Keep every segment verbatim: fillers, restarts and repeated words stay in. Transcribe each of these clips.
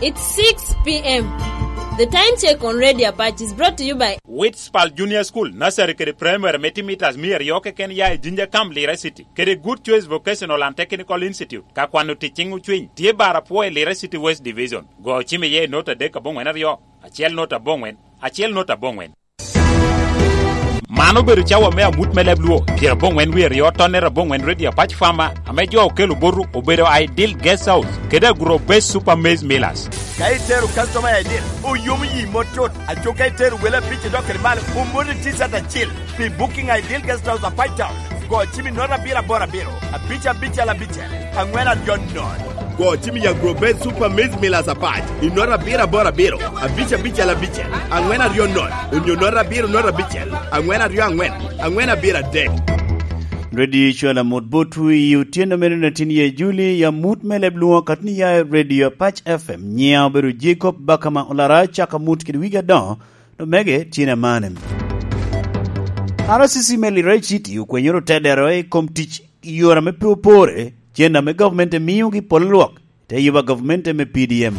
It's six p m. The time check on Radio Apache is brought to you by Witspal Junior School, Nursery kede Primary me timo mitas mia aryo keken ya i Jinja Camp, Lira City, kede Good Choice Vocational and Technical Institute, ka kwano tic ciŋ ocwiny, tye bar apwo i Lira City West Division. Go ocim iye i nota adek aboŋwen aryo, acel nota aboŋwen, acel nota aboŋwen. Man obedo cawa me amut me leb Luo, pyeraboŋwen wie aryo tonnere aboŋwen Radio Apac Farmer, ame jo okelo botu obedo Ideal Guest House, kede Agro Base Super Maize Millers. Ka itero customer i Ideal, oyomo yi mot tut. Aco ka itero wele abic idok kede malo, omoti T-shirt acil. Pi booking Ideal Guest House Apac Town, go cim i nota abiro aboro abiro, abic abicel abicel, aŋwen aryo nono. Go cim i Agro Base Super Maize Millers Apac i nota abiro aboro abiro, abic abicel abicel, aŋwen aryo nono, onyo nota abiro nota abicel, aŋwen aryo aŋwen, aŋwen abiro adek. Radio Cwala Mut Botwu i otyeno meno na tin ye Juli, ya mut me leb Luo katni ya i Radio Apac F M. Nyiŋa obedo Jacob Bakama Olara, caka mut kede wigi adoŋo, omege tyen amane. R C C me Lira City okwenyoro tedero i kom tic i yore ame pe opore, cen ame gavumenti miogi polo lwak te yuba gavumenti me P D M.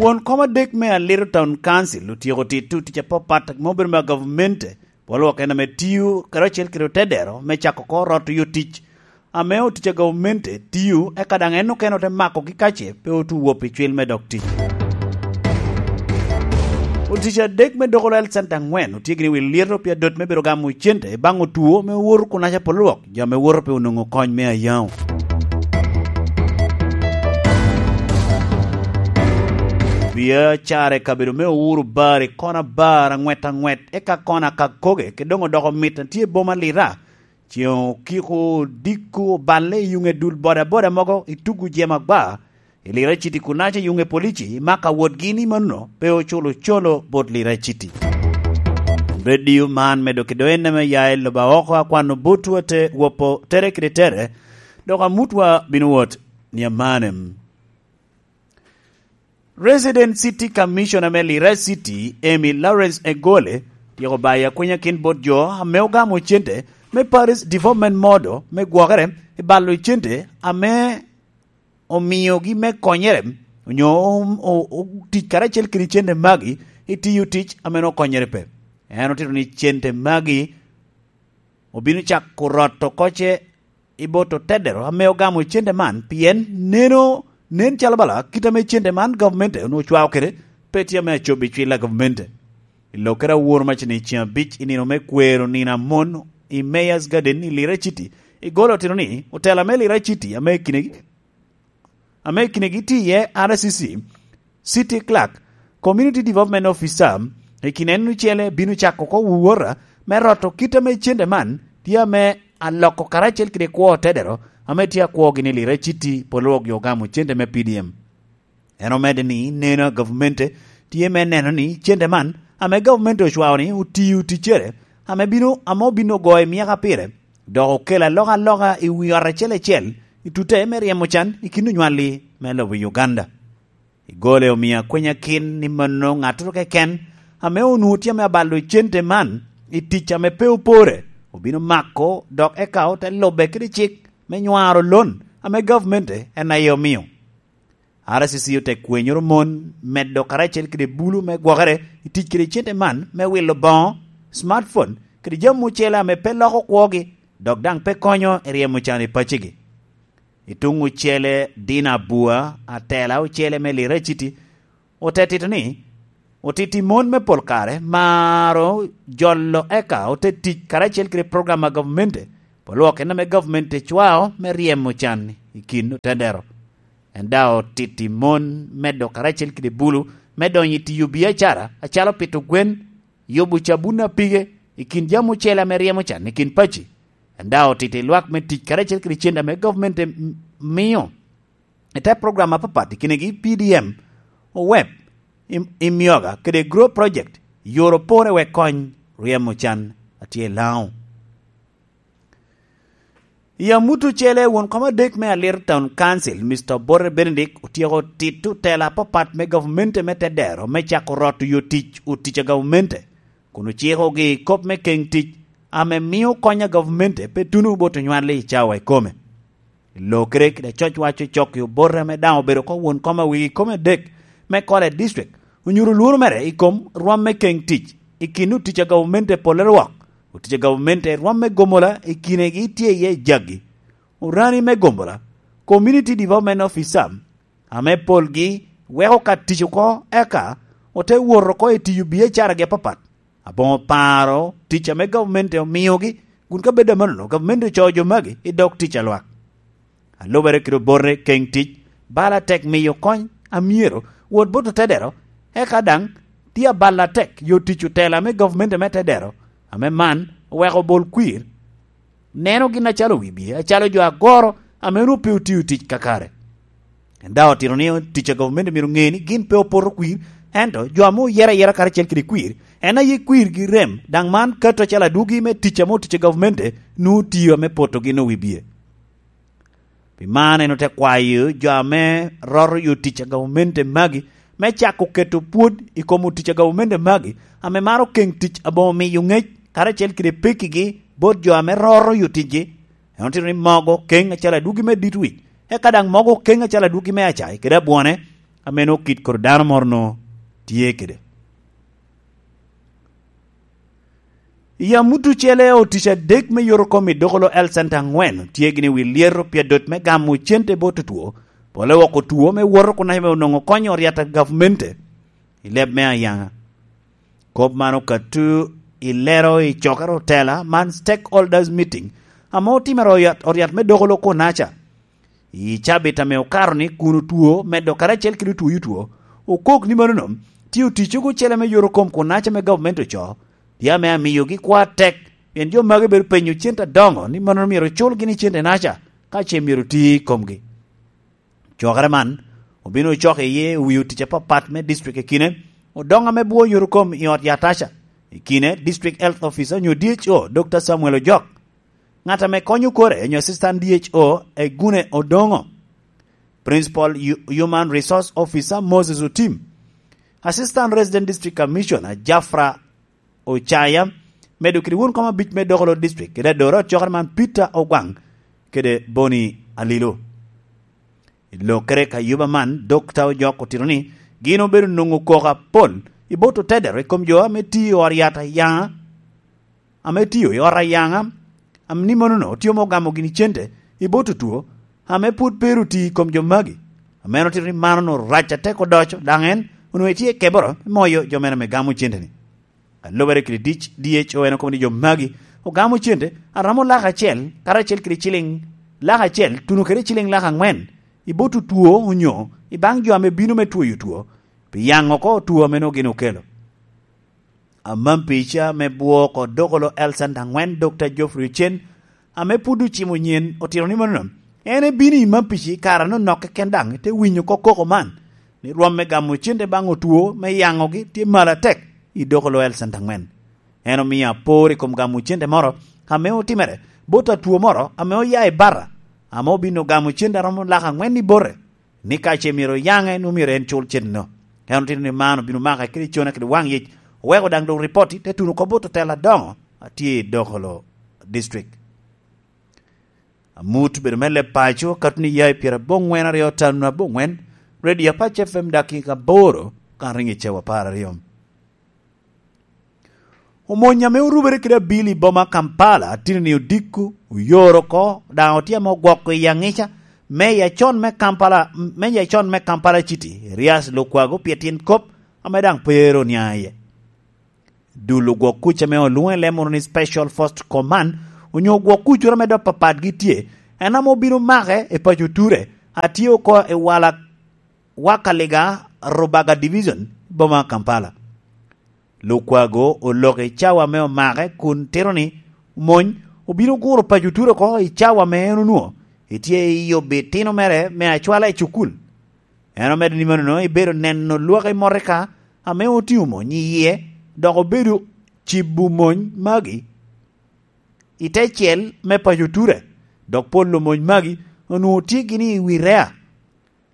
Won kom adek me Aliro Town Council otyeko tito tic apapat ma obedo me gavumenti, polo lwak en ame tio karacel kede otedero me cako oko rot oyo tic ame otic a gavumenti tio, eka daŋ en okene ote makogi kace pe otu wop i cwil me dok tic. Otic adek me Dogol Health Center aŋwen otye gini wi lyeto pi adot me bedo gamo cente baŋ otwo me woro kunaca polo lwak, jo ame woto pe onwoŋo kony me ayaŋo. Biacara i kabedo me Uhuru Bar i kona bar aŋwet aŋwet, eka kona Kakoge, kede doŋ odoko mit a tye i boma Lira. Ceŋ okiko odiko oballe i yuŋe dul bodaboda mogo i tugu jema gba, i Lira City kunaca i yuŋe polici i maka wotgi ni mano pe oculo colo bot Lira City. Radio man medo kido en ame ya i lobo oko akwano botwa te wopo tere kede tere, dok amutwa bino wot ni amanem. Resident City Commissioner me Lira City, Amy Lawrence Egole, tyeko bayo akwenya kin bot jo ame ogamo cente me Paris Development Model me gwokere i balo cente ame omiogi me konyere, onyo o-, o-, o-, tic karacel kede cente magi i tiyo tic ame okonyere pe. En otito ni cente magi obino cako rot oko ce i bot otedero ame ogamo cente man, pien neno, nen calo bala kit ame cente man gavumenti onwoŋo ocwao kede pe tye ame acob i cwil a gavumenti. I Lokere awor macni ceŋ abic i nino me kwero nino amon i Mayor's Garden i Lira City, Egole otito ni otela me Lira City ame i kinegi, ame i kinegi tye iye R C C, City Clerk, Community Development Officer, i kin en ocele bino cako oko wuwota me roto kit ame cente man tye ame aloko karacel kede kwo otedero ame tye akwogi ni Lira City polo lwak jo ogamo cente me P D M. En omedde ni neno a gavumenti tye me neno ni cente man ame gavumenti ocwao ni otiyo ticcere ame bino, ame obino ogoyo i myaka pire, dok okelo alokaloka i wi ot acel acel i tute me ryemo can i kin onywalli me lobo Uganda. Egole omio akwenya kin ni mano ŋattoro keken ame onwoŋo tye ame abalo cente man i tic ame pe opore, obino mako dok eka ote lube kede cik me nywaro lon ame gavumenti en aye omio. R C C ote kwenyoro mon medo karacel kede bulu me gwokere i tic kede cente man me wilo boŋo, smartphone, kede jami ocele ame pe loko kwogi, dok daŋ pe konyo i ryemo can i pacigi. I tuŋ ocele, Dina Abua, atela ocele me Lira City, ote tito ni, otiti mon me pol kare maro jolo eka ote tic karacel kede program a gavumenti, pol lwak en ame gavumenti cwao me ryemo can i kin otedero. En daŋ otiti mon medo karacel kede bulu me donyo i tiyo biacara, acalo pito gwen, yubo cabun a pige, i kin jami ocele ame ryemo can i kin paci. En daŋ otiti lwak me tic karacel kede cente ame gavumenti m-, mio i te program apapat, i kinegi P D M, owep, i, i myoga kede Grow Project, yoro pore wek kony ryemo can a tye i Laŋo. I amut ocele, won kom adek me Aliro Town Council, Mister Obote Benedict, otyeko tito tela apapat me gavumenti me tedero me cako roto yo tic, otic a gavumenti, kun ocikogi i kop me keŋ tic ame mio kony a gavumenti pe tuno bot onywalli i cawa ikome. Lokere kede acocwac ocok i obote ame daŋ obedo oko won kom a wigi kome adek me Kole District, onyuto lworo mere i kom rwom me keŋ tic i kin otic a gavumenti pole rwok. Otic a gavumenti rwom me gomola i kinegi tye iye jagi: orani me gomola, Community Development Officer, ame polgi weko ka tic oko, eka ote wot oko i tiyo biacaragi apapat. Aboŋo paro tic ame gavumenti omiogi, kun ka bed amannono, gavumenti ocoo jo magi i dog tic a lwak. A lubere kede obote keŋ tic, bal atek miyo kony a myero wot bot otedero, eka daŋ tye abal atek yo tic otela me gavumenti me tedero, ame man oweko bol kwir neno gin acalo wibye, acalo jo agoro ame onwoŋo pe otio tic kakare. En daŋ otito ni tic a gavumenti myero ŋe ni gin pe opoto kwir, ento jo ame oyero ayera karacel kede kwir, en aye kwirgi rem, daŋ man kato acalo adwogi me tic ame otic a gavumenti nwoŋo tio ame potogi nwoŋo wibye. Pi man en ote kwayo jo ame roto yo tic a gavumenti magi me cako keto pwod i kom otic a gavumenti magi, ame maro keŋ tic aboŋo miyo ŋec karacel kede pekkigi bot jo ame roto yo ticgi. En otito ni mogo keŋ acalo adwogi me dit wic, eka daŋ mogo keŋ acalo adwogi me acai kede abwone, ame nwoŋo kit kor dano moro nwoŋo tye kede. I amut ocele, otic adek me yot okom i dokolo Health Center aŋwen tye gini wi lyeto pi adot me gamo cente bot otwo, pole woko two me woto kun ame onwoŋo konyo ryat a gavumenti i leb me ayaŋa. Kop man okato i lero i cokere otela man, stakeholders meeting, ame otimere oryat, oryat me dokolo kunaca. I cabit ame okato ni kun otwo medo karacel kede otwoyo two, okok ni manono tye oticcogo ocele me yot okom kunaca me gavumenti ocoo, tye ame amiyogi kwo atek, pien jo magi bedo penyo cente adoŋo ni manono myero ocul gini cente naca ka ce myero oti i komgi. Cokere man obino ocoko iye owi otic apapat me district i kine, odoŋo ame bwo yot okom i ot yataca. I kine, District Health Officer onyo D H O, Doctor Samuel Ojok, ŋat ame konyo kore onyo Assistant D H O, Egune Odongo, Principal Hu-, Human Resource Officer, Moses Otim, Assistant Resident District Commissioner, Jafra Ocaya, medo kede won kom abic me Dokolo District, kede adoro ot cokere man, Peter Ogwaŋ, kede Boni Alilo. I lokere ka yuba man, Dokta Ojok otito ni gin obedo nwoŋo koko apol i bot otedero i kom jo ame tio i ot yat ayaŋa, ame tio i ot ayaŋa, am-, ni monono otio me ogamo gini cente i bot otwo ame pwod pe ru ti i kom jo magi. Ame en otito ni man onwoŋo rac atek odoco, daŋ en onwoŋo etye i keboro me moyo jo mere ame gamo cente-ni. A lubere kede D H O, en okobo ni jo magi ogamo cente a romo lak acel, karacel kede ciliŋ lak acel, tuno kede ciliŋ lak aŋwen i bot otwo onyo i baŋ jo ame bino me twoyo two, pi yaŋ oko two ame nwoŋo gin okelo. Amam pica me bwo oko Dokolo Health Center aŋwen, Dokta Geoffrey Ocen, ame pwod ocimo nyen, otito ni manono, en ebino i mam pici i kare anonok keken, daŋ te winyo oko koko man, ni rwom me gamo cente baŋ otwo me yaŋogi tye malo atek i Dokolo Health Center aŋwen. En omio apor i kom gamo cente moro ame otimere bot atwo moro ame oya i Barra, ame obino gamo cente a romo lak aŋwen i bote, ni ka ce myero oyaŋe, nwoŋo myero en cul cente-no. En otito ni man obino make kede cone kede waŋ yec, oweko daŋ doŋ ripoti te tuno oko bot otela adoŋo a tye i Dokolo District. Amut obedo me leb paco, kato ni ya i pyerabongwen aryo tano abongwen, Radio Apac F M, dakika aboro kan riŋo i cawa apar aryo. Omony ame orubere kede abili i boma Kampala, tino-ni odiko, oyoro oko, daŋ otye ame ogwoko i aŋica, meya acon me Kampala, meya acon me Kampala City, Erias Lukwago, pi tyen kop ame daŋ pe ero oniaŋ iye. Dul ogwok kuc ame olwoŋo i leb moro ni Special Force Command, onyo ogwok kuccoro ame dok papatgi tye, en ame obino make i paco Ture, a tye oko i wala Wakaliga, Rubaga Division, boma Kampala. Lukwago oloko i cawa ame omake kun tito ni omony obino guro paco Ture oko i cawa ame en onwoŋo etye i yubo itino mere me acwala i cukul. En omedo ni manono ebedo neno lwak i motoka ame otingo mony iye, dok obedo cibo mony magi i te cel me paco Ture, dok pol omony magi onwoŋo tye gini i wi rea.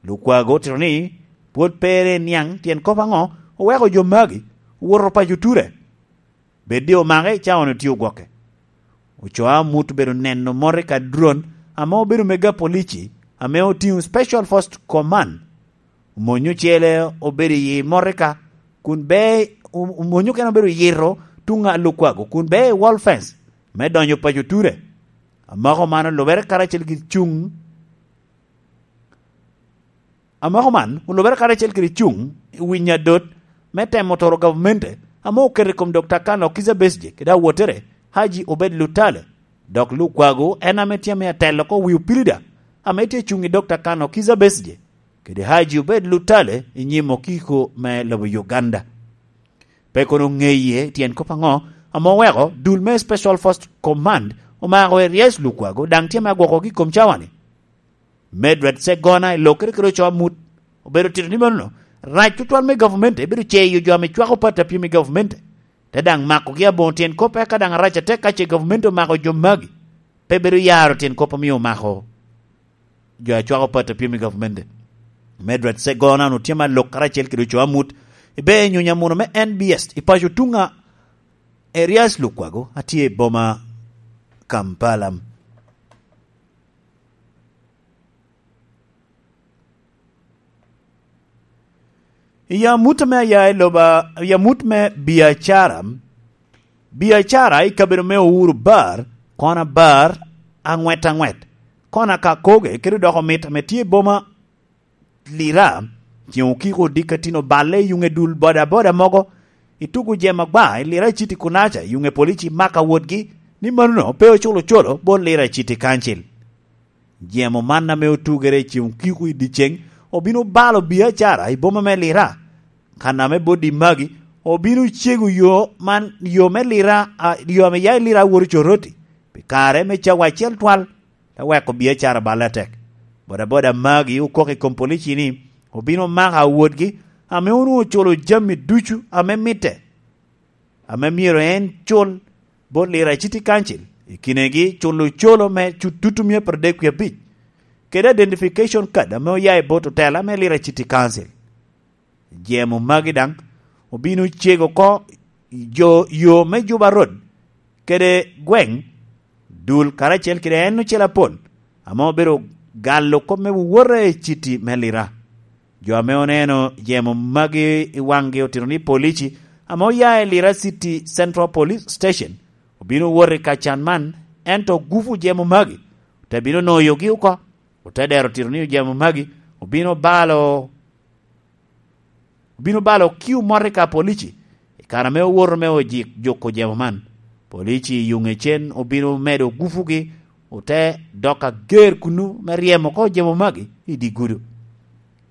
Lukwago otito ni pwod pe ero eniaŋ tyen kop aŋo oweko jo magi owoto paco Ture. Bed ni omake i cawa-ni otye ogwoke. Ocoo amut obedo neno motoka drone ame obedo mega polici, ame otiŋo Special Force Command. Omony ocele obedo i Morika, kun be, o-, omony okene obedo yito tuŋ a Lukwago, kun be i wall fence me donyo paco Ture. Amako man olubere karacel kede cuŋ, amako man olubere karacel kede cuŋ i wi nyadot me temo toro gavamente ame oketo i kom Dokta Kano Kizza Besigye kede awottere Haji Obed Lutale, dok Lukwago en ame tye ame atelo oko wi opilida ame tye cuŋ i Dokta Kano Kizza Besigye kede Haji Obed Lutale i nyim okiko me lobo Uganda. Pe kono ŋeye tyen kop aŋo ame oweko dul me Special Force Command omako Erias Lukwago daŋ tye ame agwokogi i kom cawa-ni. Medwed Segona i lokere kede oco amut obedo tito ni mano rac tutwal me gavumenti ebedo ceyo jo ame cwako pati apyem i gavumenti, te daŋ makogi aboŋo tyen kop eka daŋ arac atek ka ce gavumenti omako jo magi. Pe bedo yaro tyen kop omio omako jo a cwako pati apyem i gavumenti. Medwed Segona onwoŋo tye me alok karacel kede oco amut i ber nyonyo amuno me N B S i paco tuŋ a Erias Lukwago a tye i boma Kampala. I amut ame aya i loba, i amut me biacara, biacara i kabedo me Uhuru Bar, kona bar, aŋwet aŋwet, kona ka koge kede doko mit ame tye i boma Lira, ceŋ okiko odiko atino balle i yuŋe dul bodaboda mogo, i tugo jem agba i Lira City Kunaca, i yuŋe polici maka wotgi, ni manono pe oculo ocolo bot Lira City Council. Jemo man ame otugere i ceŋ okiko i dyeceŋ obino balo biacara i boma me Lira. Kan ame bot di magi obino cego yo man, yo me Lira, a, yo ame ya i Lira a woto Coroti, pi kare me cawa acel twal, te weko biacara balle atek. Bodaboda magi okok i kom polici ni obino mako awotgi ame onwoŋo oculo jami ducu ame mitte, ame myero en cul bot Lira City Council, i kinegi culo ocolo me cu-, tutu mia apar dek wie abic, kede identification card ame oya i bot otela me Lira City Council. Jemo magi daŋ obino cego oko jo, yo me Juba Road kede gweŋ dul karacel kede en ocel apol, ame obedo galo kop me wowote i citi me Lira. Jo ame oneno jemo magi i waŋgi otito ni polici ame oya i Lira City Central Police Station obino wot i ka can man, ento gupu jemo magi te bino noyogi oko. Ote dero tito ni jemo magi obino balo, obino balo kiu mot i ka polici i kare ame owoto me ojik juko jemo man. Polici i yuŋe cen obino medo gupugi, ote dok ager kunnu me ryemo oko jemo magi i dye gudo.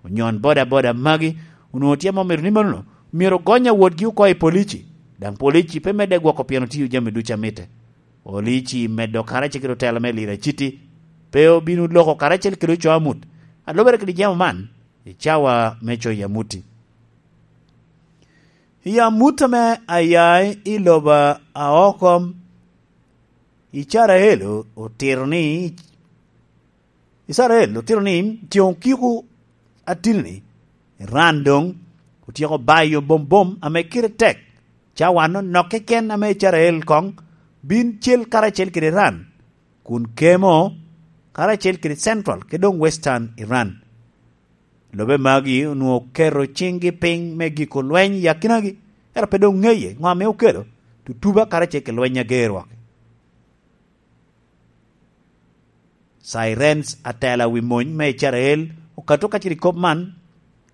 Onyon bodaboda magi onwoŋo tye ame omito ni manono myero ogony awotgi oko i polici, daŋ polici pe medde gwoko pien otiyo jami ducu a mitte. Polici medo karacel kede otela me Lira City pe obino loko karacel kede oco amut a lubere kede jemo man i cawa me coyo amuti. I amut ame aya i lobo a oko, Icarael otito ni, Icarael otito ni ceŋ okiko atini-ni, Iran doŋ otyeko bayo bombom ame kite tek. Cawa-nu nok keken ame Icarael koŋ bin cel karacel kede Iran, kun kemo karacel kede Central kede doŋ Western Iran. Lobe magi onwoŋo oketo ciŋgi piny me giko lweny i akinagi, ento pe doŋ ŋeye ŋo ame okelo tutuba karacel kede lweny ager wok. Sirens atela wi mony me Icrael okato ka cito i kop man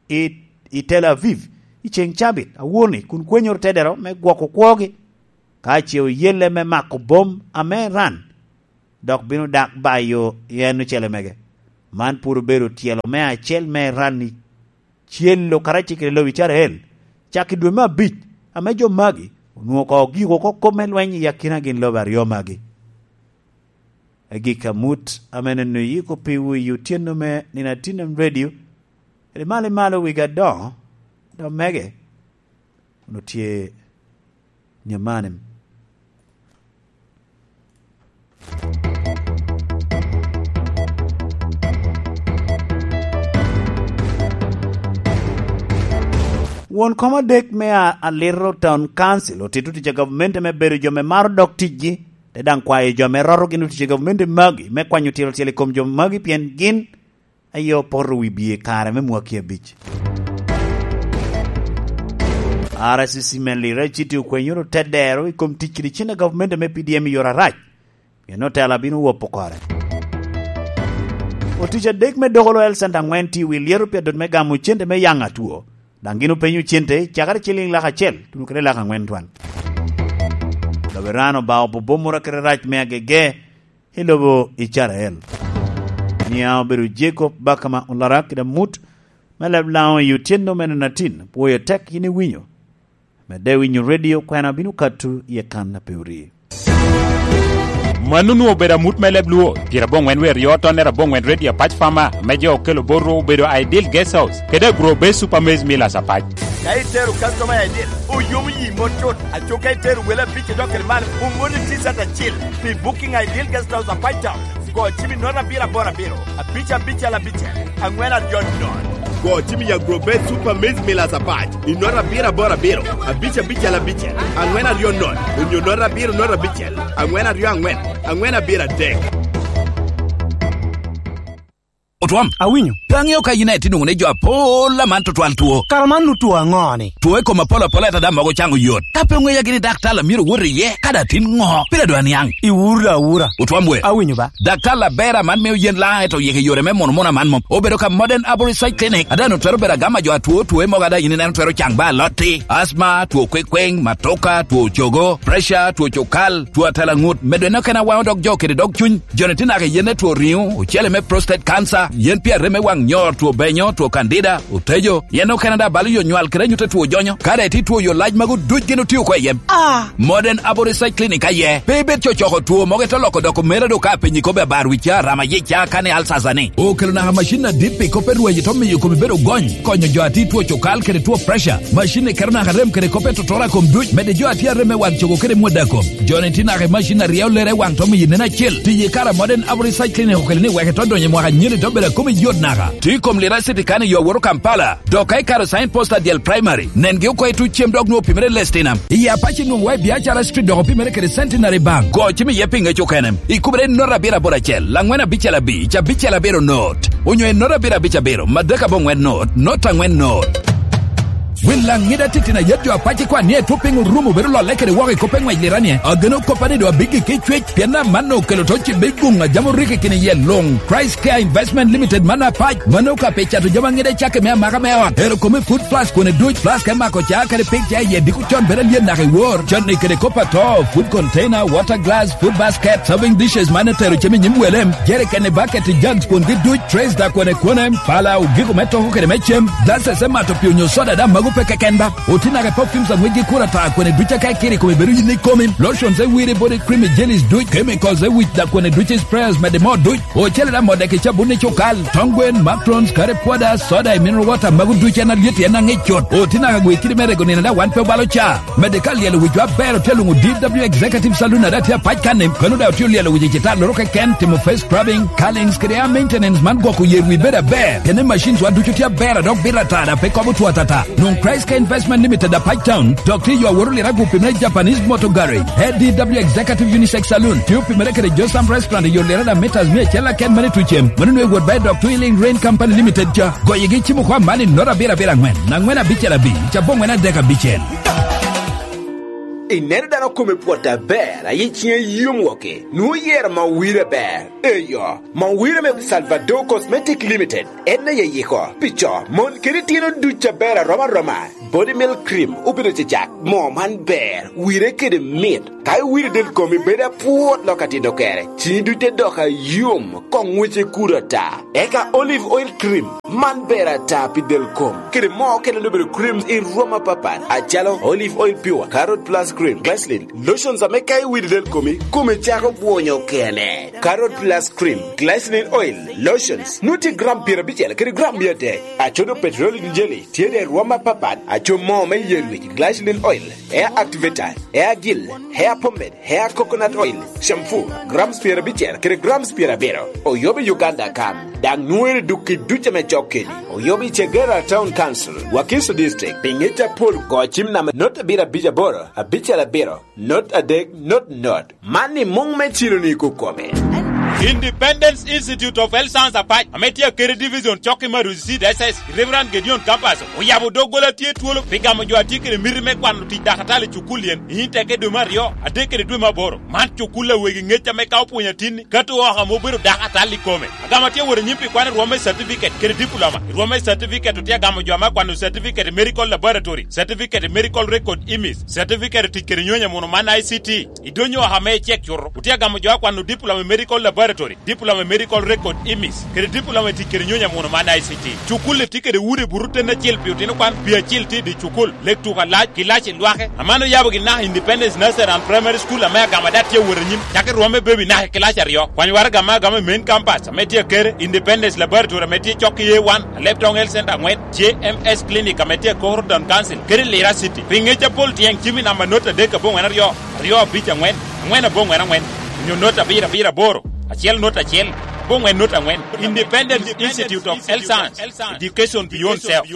i, i Tel Aviv i ceŋ cabit awor-ni, kun kwenyoro tedero me gwoko kwogi, ka ce oyelle me mako bom ame Iran, dok bino dak bayo i en ocele mege. Man pwod obedo tyelo me acel me Iran i celo karacel kede lobo Icrael, cak i dwe me abic, ame jo magi onwoŋo ko giko oko kop me lweny i akina gin lobo aryo magi. Agik amut ame neno yiko piwu i otyeno me nino atin radio, kede malo i malo wigi adoŋo, dok mege, onwoŋo tye nyamanim. Won kom adek me a-, Aliro Town Council otito tic a gavumenti me bedo jo me maro dok ticgi, te daŋ kwayo jo me roto gin otic i gavumenti magi me kwanyo tiro tyel i kom jo magi, pien gin aye opoto wi bie i kare me mwaki abic. R C C me Lira City okwenyoro te dero i kom tic kede cen a gavumenti me P D M i yore arac, pien otela bino wopo kore. Otic adek me Dokolo Health Center aŋwen tye i wi lyeto pi adot me gamo cente me yaŋ atwo, daŋ gin openyo cente cakere ciliŋ lak acel tuno kede lak aŋwen twan. Gaberano ba opo bomoro kede rac me agege i lobo Icrael. Nia obedo Jacob Bakama Olarak kede amut me leb Laŋo i otyeno mene natin, pwoyo tek yin iwinyo. Medde winyo redio, kwena bino kato i akan a pe ori. Mano onwoŋo obedo amut me leb Luo, pyeraboŋwen wer yo tonne raboŋwen redio Apac Farmer, me jo okelo bot ru obedo Ideal Guest House, kede Agro Base Super Maize Millers Apac. Ka itero customer I D, oyomo yi mot cut. Aco ka itero wele abic idok kede malo, omoni T-shirt acil pi Booking Ideal Guest House Apac Town. Go cim i note abiro aboro abiro, abic abicel abicel, aŋwen aryo nono. Go cim i Agro Base Super Maize Millers Apac i note abiro aboro abiro, abic abicel abicel, aŋwen aryo nono, onyo note abiro note abicel, aŋwen aryo aŋwen, aŋwen abiro adek. Otwam. Awinyo. Pe aŋeo ka yin aye tye nwoŋo ni jo apol aman tutwal two. Kara man nu two aŋo-ni? Two i kom apol apol ata daŋ mogo caŋo yot. Ka pe oŋeya gini daktar a myero owot iye, kadi atin ŋo, pire doŋ aniaŋ. Iwuro awura. Otwam we. Awinyo ba. Daktar aber aman mio yen laŋ eto yik i yore me mono mono aman mom. Obedo ka Modern Arborist Side Clinic. Ada nu twero bedo agama jo atwo two mogo ada yin ineno twero caŋ ba alotti. Asma, two kwekweŋ, matoka, two cogo, pressure, two cukal, two atela ŋut. Medo eno kena waŋo dog jo kede dog cuny. Joni tye naka i yen me two riŋo, ocele me prostate cancer, yen pi arem me waŋ nyor, two benyo, two candida, otejo, yen okene daŋ balo yo nywal kede anyut a two jonyo. Ka daŋ itye two yo lac magu duc gin otio oko i yem. Ah! Modern Abo Research Clinic aye. Pe ibed cocoko two mogo ito loko doko mere do ka penyi kobe abar wi ca, rama yic ca, kane alsasa ni. Okelo naka macin adit pi kop me rweny ito miyo komi bedo gony, konyo jo ati two cukal kede two pressure. Macin ni keto naka rem kede kop me totora kom duc, mede jo ati arem me waŋ cogo kede mwada kom. Joni tye naka i macin aryo lere waŋ to miyo nen acel. Tiyo i kare a Modern Abo Research Clinic okelo ni wek ito donyo i mwaka nyeni to bedo akomi yot naka. Tye i kom Lira City kan i yo woro Kampala. Dok ka ikaro sign post adyel primary, nengi oko i tuc cem dok nwoŋo opimere Lestinam. I Apac inwoŋo wa i Biacara Street dok opimere kede Centenary Bank. Go cim iye pi ŋec okene. Ikubere i not abiro aboro acel, laŋwen abicel abic, abicel abiro not. Onyo i not abiro abic abiro, madek aboŋwen not, not aŋwen not. Wil laŋ ŋida titino ayet jo Apac ikwan ni etwo piny orumo bedo lolle kede woko i kop me ŋwec Lira ni, ageno koppa ni do abiggi ki cwec, pien amanno okelo to cibbe guŋ a jam orikki kini yel luŋ. Christ Care Investment Limited man Apac, mano ka pe cato jami aŋida cakke me amaka me ot. Ero kome food flask kone duc, flask me mako ca kede pig ca iye diko con bedo alyet naka i wor. Canni kede kop ato, food container, water glass, food basket, serving dishes man etero cem i nyim wele, jerikeni, bucket, jugs kwongi duc, trays da kwene kwene, pala, ogiko me toko kede me cem, glasses me mato pi onyo soda da mago pe keken ba. Oti naka perfumes aŋwec gi kura ta kwene duc aka ikiri kome bedo yin ikomi, lotions e wiri body cream, jellies duc, chemicals e wic da kwene duc, sprayers mede mo duc. Ocele da modde ki cabun i cukal, tong gwen, makrons, kare pwoda, soda i mineral water, mago duc en alyet en aŋic cut. Oti naka gwe kidi me rego nino da wan pe obalo ca. Mede ka lyelo wic wa ber otye luŋo D W Executive Saloon ada tye Apac kan-ni. Kano da otye lyelo wic i cita loro keken, timo face scrubbing, curlings kede hair maintenance man gwoko yer wi bedo aber. Kene machines wa ducu tye aber a dok bito atara pe kobo two atata. Nwoŋ Christ Care Investment Limited Apac Town, dok tye yo aworo lira gupi me Japanese Motor Garage, A D W Executive Unisex Saloon, tye opimere kede Josam Restaurant i yo lira da meters mia acel aken mani tucem. Mano nwe wot ba i dok Twin Link Rain Company Limited ca. Goyegi cimo kwa mani not abiro abiro aŋwen, aŋwen abicel abic, cabo ŋwen adek abicel. Ineno dano kome pwot aber, aye ciŋe yom woke, nwoŋo yero ma owire ber. Eyo, ma owire me Salvador Cosmetic Limited, en aye yiko, pi co, mon kede tino duc aber arom aroma. Body milk cream obedo cecak, moo man ber, wire kede mit. Ka iwire del komi bedo apwot lok atino kere, ciŋi duc te dok ayom, koŋ ŋwece kudo ata. Eka olive oil cream, man ber ata pi del kom. Kede moo okene obedo creams i rwom apapat, acalo olive oil pure, carrot plus cream, glycerin, lotions ame ka iwire del komi, kome cako bwonyo kene. Carrot plus cream, glycerin oil, lotions, nwoŋo tye gram pyerabicel kede gram mia adek. Acodo petroleum jelly, tye de rwom apapat, aco moo me yen wic, glycerin oil, hair activator, hair gel, hair pomade, hair coconut oil, shampoo, grams pyerabicel kede grams pyerabiro. Oyobo i Uganda kan, daŋ nwoŋere duk i duc ame cok keni. Oyub i Chegera Town Council, Wakiso District, pi ngec apol, go cim namba not abiro abic aboro, abicel abiro, not adek, not not. Man i muŋ me Ciro-ni kokome. Independence Institute of Health Science Apac, ame tye Akere Division, cok i Maruzi Seed S S, Reverend Gideon Campus, oyabo doggola tye twolo pi gamo jo a tye kede miti me kwano tic dakatali i cukul yen, i Inteke dwe me aryo, adek kede dwe me aboro. Man cukul a wegi ŋec ame ka opwonyo atinni, ka to oko ame obedo dakatali i kome. Agamo atye wot anyim pi kwano rwom me certificate kede diploma. I rwom me certificate otye agamo jo ame akwano certificate i medical laboratory, certificate i medical record image, certificate i tic kede nyonyo amuno man I C T. I donyo oko ame icek cuto, otye agamo jo akwano diploma i medical laboratory, diploma i medical record image, kede diploma i tic kede nyonyo amuno man I C T. Cukul-li tye kede udi buto ten acel pi otino kwan, pi acel tye i dye cukul, lek tuko alac, kilaci lwake. Aman oyabo gin naka Independence Nursery and Primary School ame agamo ada tye awot anyim, cak i rwom me baby naka i kilaci aryo. Kwany waraga ame agamo i main campus ame tye Akere, Independence Laboratory ame tye cok i A one, Alebtong Health Center aŋwen, J M S Clinic ame tye i Koro Town Council, kede Lira City. Pi ŋec apol tyeng cim i namba not adek aboŋwen aryo, aryo abic aŋwen, aŋwen aboŋwen aŋwen, onyo not abiro abiro aboro, acel not acel, aboŋwen not aŋwen. Independence Institute of Health Science, Education Beyond Self.